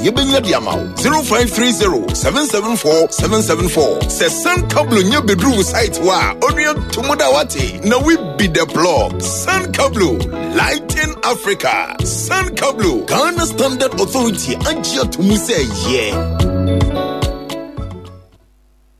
yɛbɛnya de ama wo. 0530 774 774. Sɛ Sun Kablo nya bɛduru wo site hɔ a, onua to mu da wate. Na we be the plug. Sun Kablo, lighting Africa. Sun Kablo, Ghana Standard Authority agye ato mu sɛ yɛ.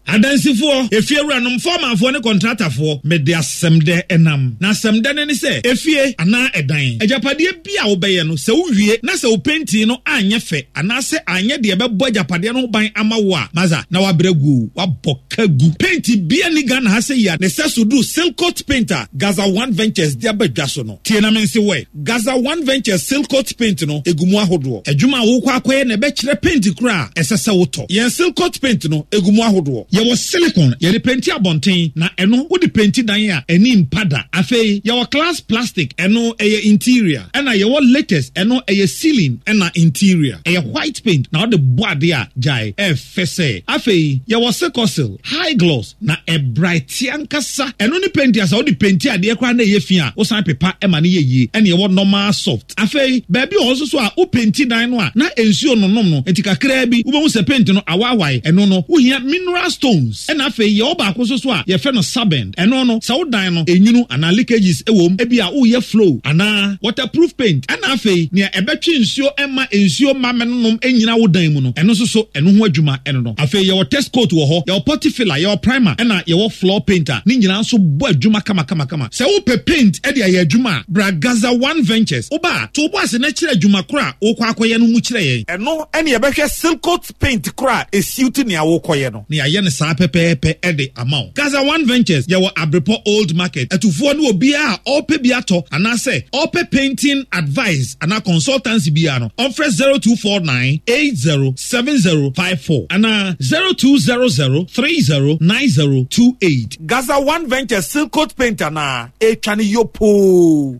Adansifoɔ, efiewuranom, fɔɔmanfoɔ ne kɔntratafoɔ, mede asɛmdɛ nam. Na asɛmdɛ no ne sɛ, efie anaa ɛdan, agyapadeɛ bi a wobɛyɛ no, sɛ wowie na sɛ wo pentin no anyɛ fɛ anaasɛ anyɛ deɛ ɛbɛbɔ agyapadeɛ no ho ban ama wo a, masa, na woabrɛ agu o, woabɔ ka agu. Penti biara nni Ghana ha sɛ yi a ne sɛso duru Silcoat Paint a Gaza One Ventures de aba dwa so no. Tie na mense wo ɛ. Gaza One Ventures Silcoat Paint no, egu mu ahodoɔ. Adwuma a worekɔ akɔyɛ na ɛbɛkyerɛ paint koro a ɛsɛ sɛ wotɔ. Yɛn Silcoat Paint no, egu mu ahodoɔ. Yɛwɔ silicone, yɛde penti abɔnten, na ɛno wode penti dan a, ani mpa da. Afei, yɛwɔ glass plastic, ɛno ɛyɛ interior. Ɛna yɛwɔ latex, ɛno ɛyɛ ceiling ɛna interior. Ɛyɛ white paint na wode bɔ adeɛ a, gyae, ɛyɛ fɛ sɛ. Afei, yɛwɔ Silcosil, high gloss, Na ɛbraete ankasa. Ɛno ne penti a sɛ wode penti adeɛ koraa na ɛyɛ fi a, wosan pepa ma no yɛ yie. Ɛna ɛwɔ normal soft. Afei, baabi wɔ hɔ nso so a wopenti dan no a, na nsuo nnonom no, nti kakraa bi wobɛhu sɛ penti no awaawae. Ɛno no, wohia mineral stones. Ɛna afei, yɛwɔ baako nso so a yɛfrɛ no sabend. Ɛno no, sɛ wo dan no nwunu anaa leakages wɔ mu, ebia woreyɛ flow anaa waterproof paint. Ɛna afei, nea ɛbɛtwe nsuo mma nsuo mma mmɛnonom nnyina wo dan mu no, ɛno nso so, ɛno ho adwuma ɛno no. Afei yɛwɔ test coat wɔ hɔ, yɛwɔ putty filler, yɛwɔ primer, ɛna yɛwɔ floor paint a ne nyinaa nso bɔ adwuma kamakamakama. Sɛ wopɛ paint de ayɛ adwuma a, bra Gaza One Ventures. Woba a, to wo bo ase na kyerɛ adwuma koro a worekɔ akɔyɛ no mu kyerɛ yɛn. Ɛno ne yɛbɛhwɛ Silcoat paint koro a ɛsiwte nea worekɔyɛ no. Na yɛayɛ no saa pɛpɛɛpɛ de ama wo. Gaza One Ventures, yɛwɔ Abrepɔ Old Market. Atufoɔ ne obiara a ɔrepɛ bi atɔ anaasɛ ɔrepɛ painting advice anaa consultancy biara no, ɔmfrɛ 0249 80 7054 anaa 0200 30 9028. Gaza One Ventures Silcoat Paint anaa ɛretwa no yopoo.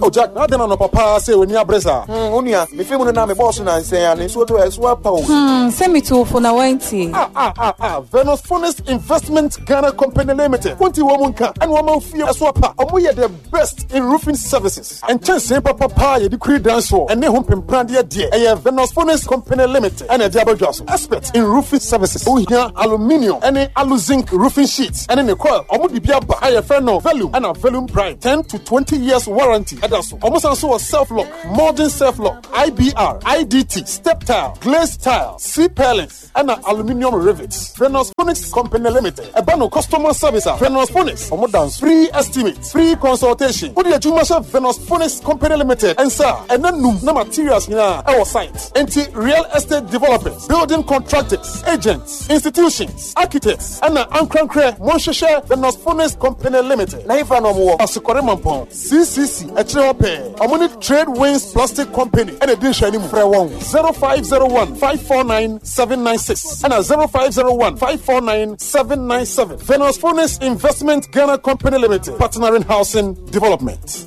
Oh Jack, na adɛn anɔpa paa sɛ w'ani abere saa? Hmm, wo nua, mefiri mu no na mebɔɔ so nansɛn a ne nsuo tɔ ɛso apa o. Hmm, sɛ metu fo na wantie. Ah, ah, ah, ah, Venus Funnest Investment Ghana Company Limited. Wonti wɔn mu nka, ɛna wɔn fie ɛso apa. Wɔn yɛ the best in roofing services. Nkyɛnsee papa paa yɛde kuri dan soɔ ɛne ho mpempradeɛ deɛ ɛyɛ Venus Furnace Company Limited ɛna ɛde aba dwa so. Expert in roofing services. Wohia aluminium ɛne aluzinc roofing sheets ɛne ne coil. Wɔn de bi aba a yɛfrɛ no Velum ɛna Velum Prime. 10 to 20 years warranty ɛda so. Wɔn san so wɔ self lock, modern self lock, IBR, IDT, step tile, glazed tile, C purlins. ɛna aluminium rivets. Venus Phonics Company Limited. Ɛba no customer service a Venus Phonics wɔn da nso. Free estimate, free consultation. Wode adwuma hyɛ Venus Phonics Company Limited nsa a, ɛna num na materials nyinaa ɛwɔ site. Enti real estate developers, building contractors, agents, institutions, architects ɛna ankorankorɛ monhwehwɛ Venus Phonics Company Limited. Na hefa na wɔn wɔ? Asokɔre Mampɔn. CCC, akyire hɔ pɛɛ. Wɔn ne Trade Winds Plastic Company na ɛdi nhwɛanim. Frɛ wɔn 0501 549 796 ɛna 0501 549 797. Venus Furnace Investment Ghana Company Limited, partnering housing development.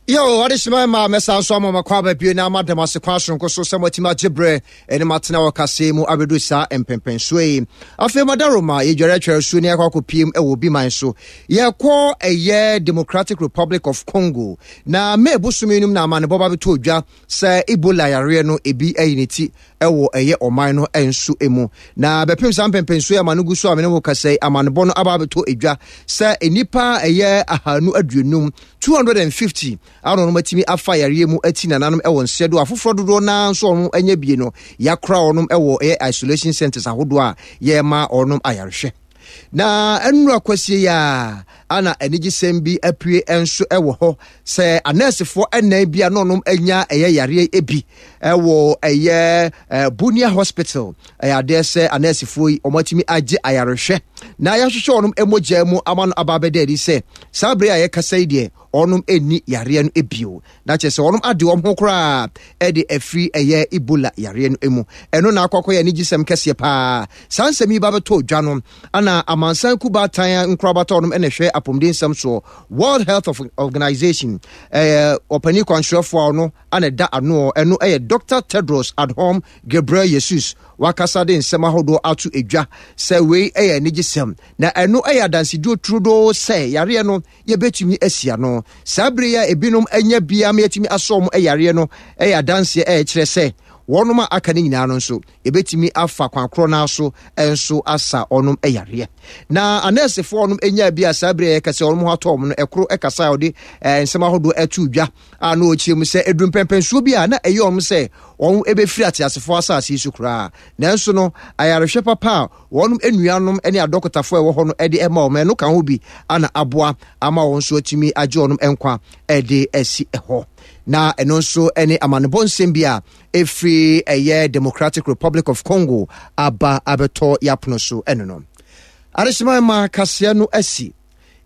Yo, adehyema ma mɛsan so ama makɔ aba bio na ama dɛm ase kwan soronko so sɛ moatumi agye berɛ ɛne matena wɔ kaseɛ mu abɛdu saa mpɛmpɛnsoɔ yi. Afei madaroma yɛdware atware su ne yɛakɔ akɔpiem wɔ obi man so. Yɛkɔ ɛyɛ Democratic Republic of Congo na May bosome no mu na amanebɔ ba bɛtɔ dwa sɛ Ebola yareɛ no ebi ayi ne ti wɔ ɛyɛ ɔman no nso mu. Na bɛpem saa mpɛmpɛnsoɔ yi ama no gu so a me ne wo kasa yi, amanebɔ no aba abɛtɔ edwa sɛ nnipa ɛyɛ 250, 250 a na wɔn atumi afa yareɛ mu ati nananom wɔ nsɛ do afoforɔ dodoɔ naa nso wɔn anya bie no yɛakora wɔn wɔ ɛyɛ isolation centers ahodoɔ a yɛrema wɔn ayarehwɛ. Na nnura kwasie yi a ana anigyesɛm bi apue nso wɔ hɔ sɛ anɛɛsefoɔ ɛnan bi a na ɔnom anya ɛyɛ yareɛ bi ɛwɔ ɛyɛ Bunia Hospital. Ɛyɛ adeɛ sɛ anɛɛsefoɔ yi wɔn atumi agye ayarehwɛ na yɛahwehwɛ wɔn mogya mu ama no aba abɛda adi sɛ saa bere a yɛkasa yi deɛ wɔnom ɛnni yareɛ no bio. Na kyerɛ sɛ wɔnom ade wɔn ho koraa de afiri ɛyɛ Ebola yareɛ no mu. Ɛno na akɔ akɔyɛ anigyesɛm kɛseɛ paa. Saa nsɛm yi ba bɛtɔ dwa no, ana amansan kubaatan nkorabata wɔnom na ɛhwɛ apɔmuden nsɛm soɔ, World Health Organization, ɛyɛ ɔpanin kwankyerɛfoɔ a ɔno ana ɛda ano, ɛno ɛyɛ Dr. Tedros Adhanom Ghebreyesus. Wakasa de nsɛm ahodoɔ ato edwa sɛ wei ɛyɛ anigyesɛm na ɛno ɛyɛ adansedie turodoo sɛ yareɛ no yɛbɛtumi asi ano. Saa bere yi a ebinom anya bi ama yɛatumi asɔ wɔn yareɛ no yɛ adanseɛ a ɛkyerɛ sɛ wɔnom a aka no nyinaa no nso, yɛbɛtumi afa kwan korɔ no ara so nso asa wɔnom yareɛ. Na anɛɛsefoɔ a wɔnom nyaa bi a saa bere a yɛka sɛ wɔnom ho atɔ wɔn no, ɛkoro kasa a wɔde nsɛm ahodoɔ ɛto dwa a na ɔkyerɛ mu sɛ ɛduru mpɛmpɛnsoɔ bi a na ɛyɛ wɔn sɛ wɔn ɛbɛfiri ateasefoɔ asase yi so koraa. Nanso no, ayarehwɛ papa a wɔn nuanom ne adɔkotafo a ɛwɔ hɔ no de ma wɔn. Ɛno ka ho bi na aboa ama wɔn nso atumi agye wɔn nkwa de asi hɔ. Na ɛno nso ne amanebɔ nsɛm bi a ɛfiri ɛyɛ Democratic Republic of Congo aba abɛtɔ yɛapono so ɛno no. Adehyema ma kaseɛ no asi.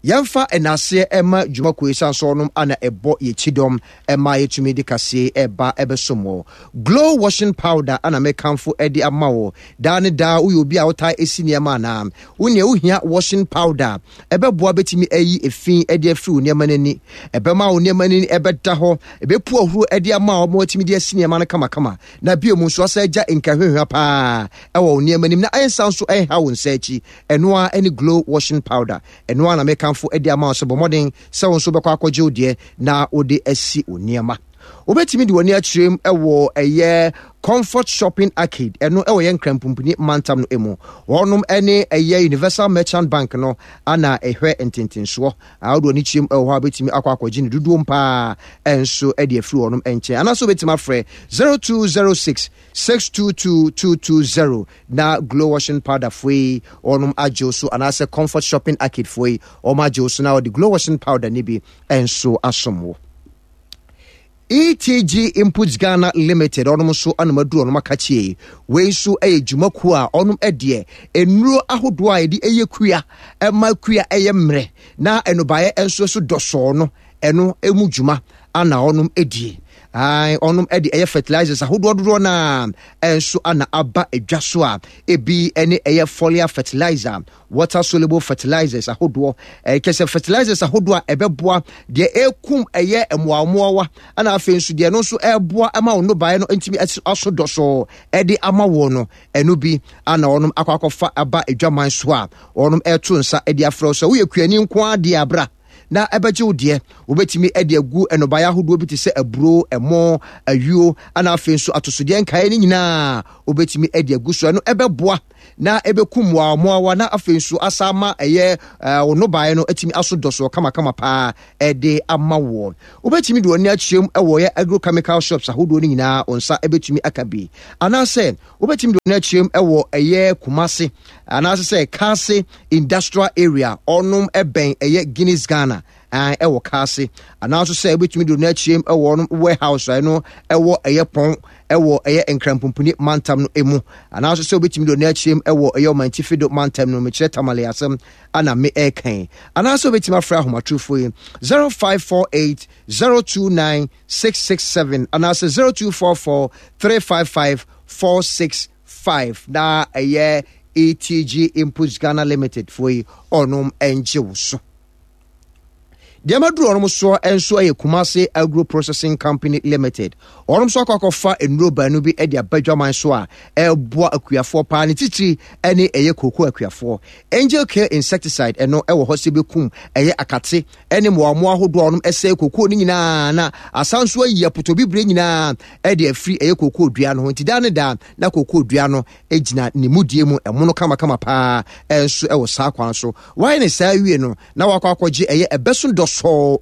Yɛmfa nnaseɛ mma dwumakuo yi sane sɛ wɔnom ana ɛbɔ yɛ kyidɔm ɛma yɛtumi de kaseɛ ɛba ɛbɛsom wɔ. Glow washing powder ana mekamfo ɛde ama wo. Daa ne daa woyɛ obi a wotaa ɛsi nneɛma anaa? Wo nea wohia washing powder a ɛbɛboa bɛtumi ayi efi ɛde afiri wo nneɛma no ani. Ɛbɛma wo nneɛma no ani ɛbɛda hɔ, ɛbɛpu ahuro ɛde ama wo ma watumi de asi nneɛma no kamakama. Na bio mu nso asa agya nkahwehwa paa ɛwɔ wo nneɛma nim na ɛnsa nso ɛnha wo nsa akyi. Ɛno ara ne Glow washing powder. Ɛno ara na mekamfo de ama wo sɛ bɔ mmɔden sɛ wo nso wobɛkɔ akɔgye wo deɛ na wode asi wo nneɛma. Wobɛtumi de w'ani akyerɛ mu wɔ ɛyɛ Comfort Shopping Arcade, ɛno ɛwɔ yɛn Nkranpumpuni mantam no mu. Wɔnom ne ɛyɛ Universal Merchant Bank no ana ɛhwɛ ntentensoɔ. A wode w'ani kyerɛ mu wɔ hɔ a wobɛtumi akɔ akɔgye no dodoɔ paa nso de afiri wɔnom nkyɛn. Anaasɛ wobɛtumi afrɛ 0206 622 220 na Glow Washing Powder foɔ yi wɔnom agye wo so anaasɛ Comfort Shopping Arcade foɔ yi wɔn agye wo so na wɔde Glow Washing Powder no bi nso asom wo. ETG Inputs Ghana Limited ɔnom nso anom aduru ɔnom akakyie. Wei nso yɛ dwumakuo a ɔnom deɛ nnuro ahodoɔ a yɛde ɛyɛ kua ɛma kua ɛyɛ mmerɛ na nnɔbaeɛ nso so dɔsɔɔ no ɛno ɛmu dwuma ana ɔnom die. Ae, ɔnom de ɛyɛ fertilizers ahodoɔ dodoɔ no a ɛnso ana aba adwa so a ebi ne ɛyɛ foliar fertilizer, water soluble fertilizers ahodoɔ, ɛkyɛ sɛ fertilizers ahodoɔ a ɛbɛboa deɛ ɛkum ɛyɛ mmoawammoawa, ɛna afei nso deɛ ɛno nso ɛboa ma wo nnɔbaeɛ no ntumi aso dɔsɔɔ ɛde ama wɔn no, ɛno bi ana ɔnom akɔ akɔfa aba adwaman so a ɔnom ɛto nsa ɛde afrɛ sɛ woyɛ kuani nko ara deɛ abra na ɛbɛgye wo deɛ. Wobɛtumi de agu nnɔbaeɛ ahodoɔ bi te sɛ aburo, ɛmo, ayuo, ana afei nso atosodeɛ nkaeɛ no nyinaa wobɛtumi de agu so. Ɛno ɛbɛboa na ɛbɛku mmoawammoawa na afei nso asa ama ɛyɛ wo nnɔbaeɛ no atumi aso dɔsoɔ kamakama paa ɛde ama woɔ. Wobɛtumi de w'ani akyerɛ mu wɔ yɛ agrochemical shops ahodoɔ no nyinaa, wo nsa ɛbɛtumi aka bi. Anaasɛ wobɛtumi de w'ani akyerɛ mu wɔ ɛyɛ Kumase anaasɛ sɛ Kaase Industrial Area, ɔnom ɛbɛn ɛyɛ Guinness Ghana ɛwɔ Kaase, anaasɛ sɛ wobɛtumi de w'ani akyerɛ mu ɛwɔ ɔnom warehouse a ɛno ɛwɔ ɛyɛ pɔn ɛwɔ ɛyɛ Nkranpumpuni mantam no emu, anaasɛ sɛ wobɛtumi de w'ani akyerɛ mu ɛwɔ ɛyɛ Ɔmantifi do mantam no, mekyerɛ Tamale asɛm ana me ɛɛkan, anaasɛ wobɛtumi afrɛ ahomatorofo yi 0548 029 667 anaasɛ 0244 355 465 na ɛyɛ ETG Inputs Ghana Limited foɔ yi ɔnom ɛngye wo so. Deɛ maduru ɔnom soɔ nso yɛ Kumasi Agro Processing Company Limited. Ɔnom nso akɔ akɔfa nnuro baanu bi de aba dwaman so a ɛreboa akuafoɔ paa, ne titiri ne ɛyɛ kooko akuafoɔ. Angel Care Insecticide ɛno ɛwɔ hɔ sɛ bɛkum ɛyɛ akate ne mmoawammoa ahodoɔ a ɔnom ɛsɛe kooko no nyinaa na asan nso ayi apotobibire nyinaa ɛde afiri ɛyɛ kooko dua no ho. Nti daa ne daa na kooko dua no gyina ne mudie mu ɛmono kamakama paa nso ɛwɔ saa kwan so. Wayɛ ne saa awie no na wakɔ akɔgye ɛyɛ ɛbɛso dɔsɔɔ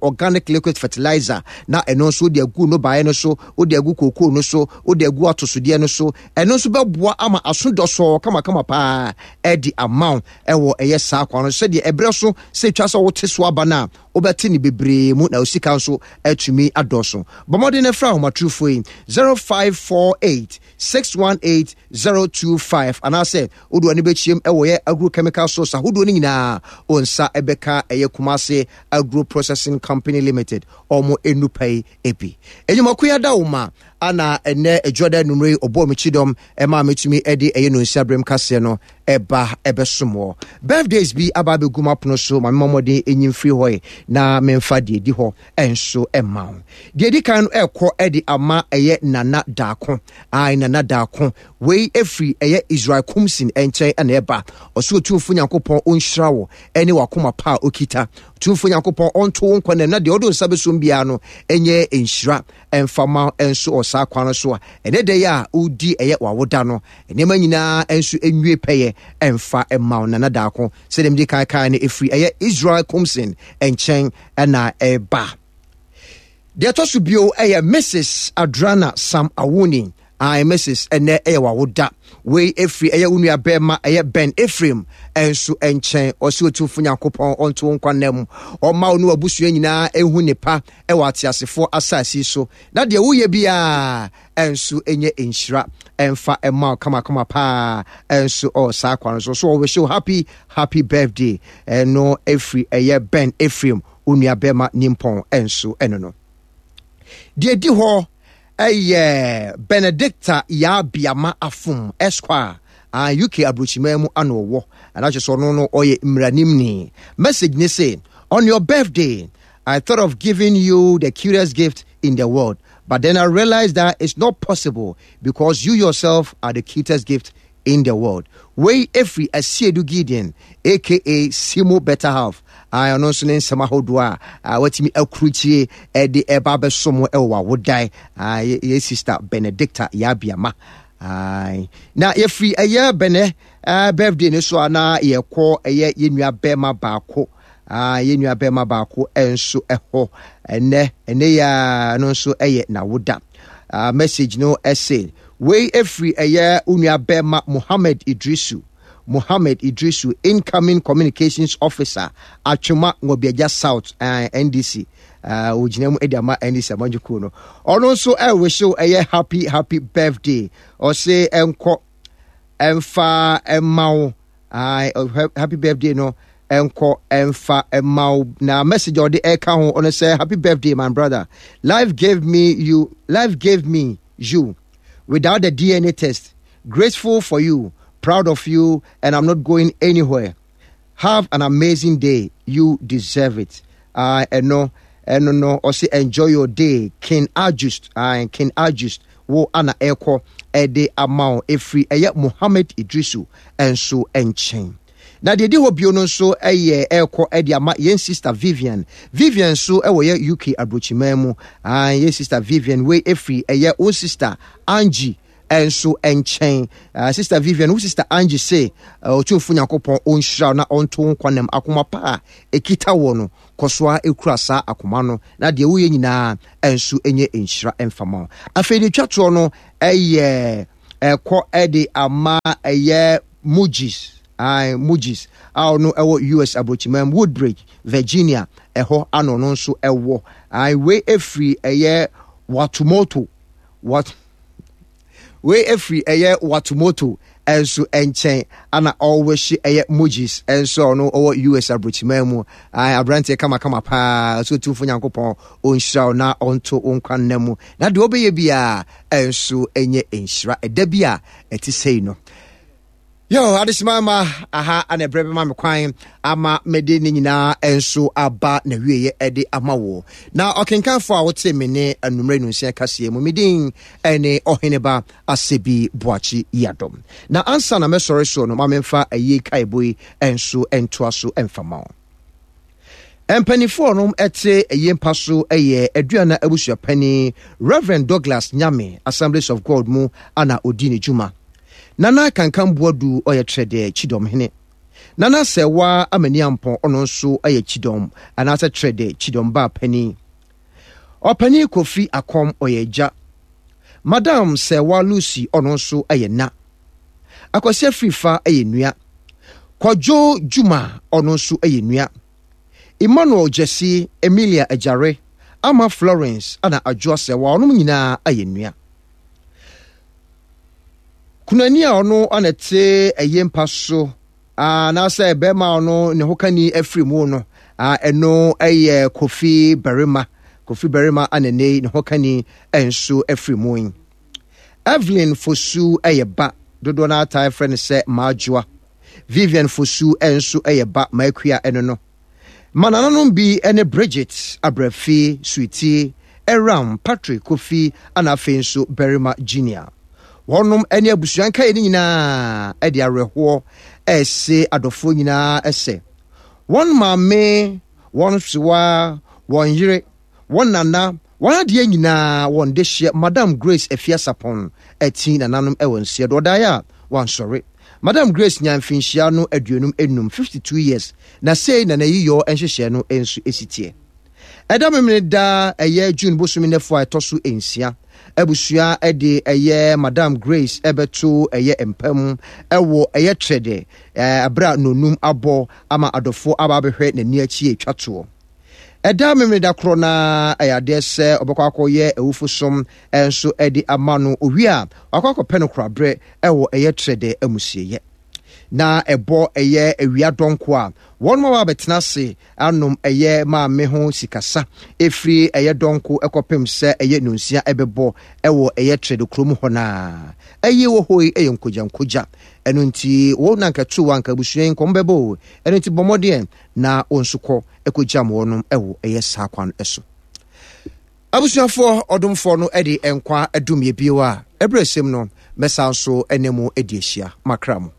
organic liquid fertilizer na ɛno nso wode agu nnɔbaeɛ no so, wode agu kookoo no so, wode agu atosodeɛ no so. Ɛno nso bɛboa ama aso dɔsɔɔ kamakama paa ɛde ama wo ɛwɔ ɛyɛ saa kwan no sɛdeɛ ɛberɛ so sɛ ɛtwa sɛ wote so aba no a wobɛte ne bebree mu na wo sika nso atumi adɔso. Bɔ mmɔden na frɛ ahomatorofoɔ yi 0548 618 025 anaasɛ wode w'ani bɛkyiam wɔ yɛ agrochemical source ahodoɔ no nyinaa wo nsa bɛka ɛyɛ Kumasi Agro Processing Company Limited ɔmo nnupa yi bi. Enyimako yi ada wo ma. Ana ɛnnɛ Adwuada anwummere yi ɔbɔɔ me kyidɔm maa metumi de ɛyɛ nonsia berem kaseɛ no ɛba ɛbɛsom wɔ. Birthdays bi aba abɛgu m'apono so ma memmɔ mmɔden nyi mfiri hɔ ɛ na memfa deɛ ɛdi hɔ nso mma wo. Deɛ ɛdi kan no ɛrekɔ de ama ɛyɛ Nana Daako. Ae Nana Daako. Wei ɛfiri ɛyɛ Israel Kumsin nkyɛn na ɛba. Ɔse Otumfoɔ Nyankopɔn ɔnhyira wo ɛne w'akoma pa a ɔkita. Otumfoɔ Nyankopɔn ɔnto wo nkwa nam na deɛ ɔde wo nsa bɛsom biara no ɛnyɛ nhyira. Ɛmfa mma wo nso wɔ saa kwan no so a ɛnɛ da yi a wodi ɛyɛ w'awoda no, nneɛma nyinaa nso nwie pɛyɛ ɛmfa mma wo. Nana Daako, sɛdeɛ medi kan kae no, ɛfiri ɛyɛ Israel Kumsin nkyɛn na ɛba. Deɛ ɛtɔ so bio ɛyɛ Mrs. Adrana Sam Awuni. Ae Mrs. Ɛnɛ ɛyɛ w'awoda. Wei ɛfiri ɛyɛ wo nua bɛrima ɛyɛ Ben Ephraim ɛnso nkyɛn. Ɔse Otumfo Nyankopɔn ɔnto wo nkwa nna mu. Ɔmma wo ne w'abusua nyinaa ɛnhu ne pa ɛwɔ ateasefoɔ asase yi so. Na deɛ woyɛ biara ɛnso ɛnyɛ nhyira ɛmfa ɛma wo kamakama paa ɛnso ɔwɔ saa kwan no so. So ɔwish wo happy happy birthday. Ɛno ɛfiri ɛyɛ Ben Ephraim wo nua bɛrima nimpɔn ɛnso ɛno no. Deɛ ɛdi hɔ ɛyɛ Benedicta Yaa Biama Afum Esquire a UK aburokyiman mu ano ɔwɔ. Ɛna kyerɛ sɛ ɔno no ɔyɛ mmaranimni. Message ne se, on your birthday, I thought of giving you the cutest gift in the world, but then I realized that it's not possible because you yourself are the cutest gift in the world. Wei efiri Asiedu Gideon aka Simo Better Half. A ɔno nso ne nsɛm ahodoɔ a watumi akurukyie de ɛba abɛso mo ɛwɔ w'awodae. Yɛ sister Benedicta Yabiama. Na yɛfiri ɛyɛ Bene birthday no so a na yɛkɔ ɛyɛ yɛn nua bɛrima baako. Yɛn nua bɛrima baako nso ɛhɔ ɛnɛ ɛnɛ yɛ no nso ɛyɛ n'awoda. Message no ɛse wei efiri ɛyɛ wo nua bɛrima Mohammed Idrisu. Mohammed Idrisu, incoming communications officer, Atwema Nwabiagya South, NDC. Ogyina mu de ama NDC amanyɔkuo no. Ɔno nso ɛrewihyew ɛyɛ happy happy birthday. Ɔse ɛnkɔ ɛmfa ɛma wo. Happy birthday no ɛnkɔ ɛmfa ɛma wo. Na message a ɔde ɛka ho ɔno sɛ happy birthday my brother. Life gave me you. Life gave me you without the DNA test. Grateful for you, proud of you, and I'm not going anywhere. Have an amazing day. You deserve it. Ɛno ɛno no ɔse enjoy your day King Ajust. King Ajust wo ana ɛkɔ ɛde ama wo ɛfiri ɛyɛ Mohammed Idrisu ɛnso nkyɛn. Na deɛ ɛdi hɔ bio no nso ɛyɛ ɛrekɔ ɛde ama yɛn sister Vivian. Vivian nso ɛwɔ yɛ UK aburokyiman mu. Yɛn sister Vivian wei ɛfiri ɛyɛ wo sister Angie nso nkyɛn. Sister Vivian, wo sister Angie se Otumfo Nyankopɔn ɔnhyira na ɔnto wo nkwa nam akoma pa a ɛkita wɔ no. Kɔ so ara kura saa akoma no na deɛ woyɛ nyinaa nso nyɛ nhyira mfa ma wo. Afei deɛ twa toɔ no ɛyɛ ɛkɔ ɛde ama ɛyɛ Mujis. Aye, Mujis a ɔno ɛwɔ US aburokyiman Woodbridge, Virginia ɛhɔ ano ɔno nso ɛwɔ. Aye, wei ɛfiri ɛyɛ Watumoto. What? Wei ɛfiri ɛyɛ Watumoto nso nkyɛn ana ɔwehye ɛyɛ Mojis nso a ɔno ɔwɔ US aburokyiman mu. Ae, aberanteɛ kamakama paa. So Otumfo Nyankopɔn ɔnhyira wo na ɔnto wo nkwa nna mu. Na deɛ ɔbɛyɛ biara nso ɛnyɛ nhyira ɛda bi a ɛte sei no. Yo, adesima ma aha ana ɛberɛ bɛma me kwan ama mede ne nyinaa nso aba na wieɛ ɛde ama wo. Na ɔkenkanfoɔ a wote me ne anummerɛ nunsia kaseɛ mu, me din ɛne Ɔheneba Asebi Boakye Yiadom. Na ansa na mɛsɔre soɔ no, ma memfa ayie kaebo yi nso ntoa so mfa ma wo. Mpanimfoɔ nom te ayie mpa so yɛ Aduana abusuapanin Rev. Douglas Nyame, Assemblies of God mu ana ɔdi ne dwuma. Nana Kankan Boadu ɔyɛ Trɛdɛ Kyidɔmhene. Nana Sɛɛwa Amaniampɔn ɔno nso yɛ Kyidɔm anaasɛ Trɛdɛ Kyidɔm baa panin. Ɔpanin Kofi Akɔm ɔyɛ agya. Madam Sɛɛwa Lucy ɔno nso yɛ na. Akwasi Afrifa yɛ nua. Kwadwo Juma ɔno nso yɛ nua. Emmanuel Gyasi, Emilia Agyare, Ama Florence ɛna Adwoa Sɛɛwa ɔnom nyinaa yɛ nua. Kunani a ɔno na ɛte ɛyɛ mpa so anaasɛ bɛrima a ɔno ne ho kani afiri mu no, ɛno yɛ Kofi Barima. Kofi Barima Ananei ne hokani nso afiri mu yi. Evelyn Fosu yɛ ba, dodoɔ no ara taa frɛ no sɛ Maajoa. Vivian Fosu nso yɛ ba, Maakua ɛno no. Ma nananom bi ne Bridget, Abrafi, Sweetie, Aram, Patrick, Kofi ana afei nso Barima Junior. Wɔnom ne abusua nkaeɛ no nyinaa de awerɛhoɔ rese adɔfoɔ nyinaa sɛ wɔn maame, wɔn sewa, wɔn yere, wɔn nana, wɔn adeɛ nyinaa, wɔn dehyeɛ Madam Grace Afiasapɔn ati nananom wɔ nseɛ do. Ɔdaeɛ a wansɔre. Madam Grace nyaa mfinhyia no 55, 52 years, na sei na n'ayiyɔ nhyehyɛɛ no nso si teɛ. Ɛda Memeneda ɛyɛ June bosome nnafua a ɛtɔ so nsia, abusua de ɛyɛ Madam Grace bɛto ɛyɛ mpa mu wɔ ɛyɛ trɛdɛ ɛberɛ a nonum abɔ ama adɔfoɔ aba abɛhwɛ n'ani akyi atwa toɔ. Ɛda Memeneda korɔ no ara ɛyɛ adeɛ sɛ ɔbɛkɔ akɔyɛ awufosom nso de ama no, owie a wakɔ akɔpɛ no koraberɛ wɔ ɛyɛ trɛdɛ amusieɛ. Na ɛbɔ ɛyɛ awia dɔnko a wɔn ma wɔabɛtena ase anom ɛyɛ maame ho sikasa ɛfiri ɛyɛ dɔnko ɛkɔpem sɛ ɛyɛ nonsia ɛbɛbɔ ɛwɔ ɛyɛ trɛdɛ kurom hɔ no a. Ɛyie wɔ hɔ yi ɛyɛ nkogya nkogya. Ɛno nti wo na nka tu anka abusua yi nkɔm bɛbɔ o. Ɛno nti bɔ mmɔden na wo nso kɔ ɛkɔgyam wɔnom ɛwɔ ɛyɛ saa kwan ɛso. Abusuafoɔ, ɔdomfoɔ no de nkwa dom yɛ bio a, ɛberɛ sɛm no, mɛsan nso ne mo adi ahyia. Makra mo.